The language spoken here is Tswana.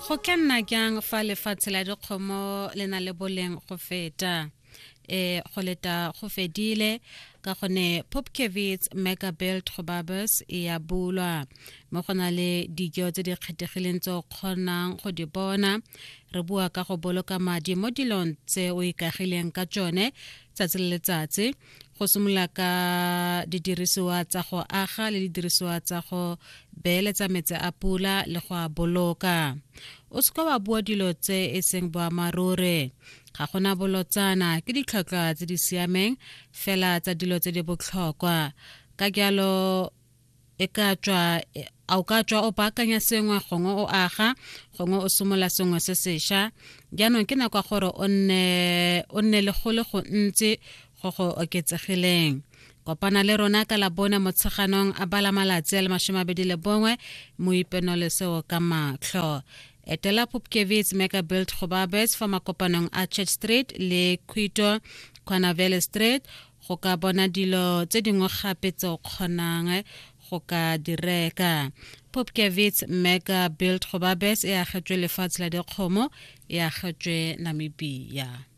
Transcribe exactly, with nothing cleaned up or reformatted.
Go ka nna jang fa lefatshe la dikgomo le na le boleng go feta? E go leta go fedile ka gone Pupkewitz Mega Build Gobabis e ya bulwa mo go na le dijo tse di kgethegileng tse o kgonang go di bona. Re bua ka go boloka madi mo dilong tse o ikagileng ka tsone tsatsi le letsatsi, go simolola ka didirisiwa tsa go aga le didirisiwa tsa go beeletsa metsi a pula le go a boloka. O seka wa bua dilo tse e seng boammaaruri. Ga gona bolotsana, ke ditlhwatlhwa tse di siameng fela tsa dilo tse di botlhokwa. Ka jalo e ka tswa a o ka tswa o baakanya sengwe, gongwe o aga, gongwe o simolola sengwe se sešwa. Jaanong ke nako ya gore o nne o nne le go le gontsi go go oketsegileng. Kopana le rona ka Labone Motsheganong a bala malatsi a le masome a mabedi le bongwe mo ipenole seo ka matlho. Etela Pupkewitz Mega Build Gobabis fa makopanong a Church Street le Quito Quanavele Street go ka bona dilo tse dingwe gape tse o kgonang go ka di reka. Pupkewitz Mega Build Gobabis e agetswe lefatshe la dikgomo, e agetswe Namibia.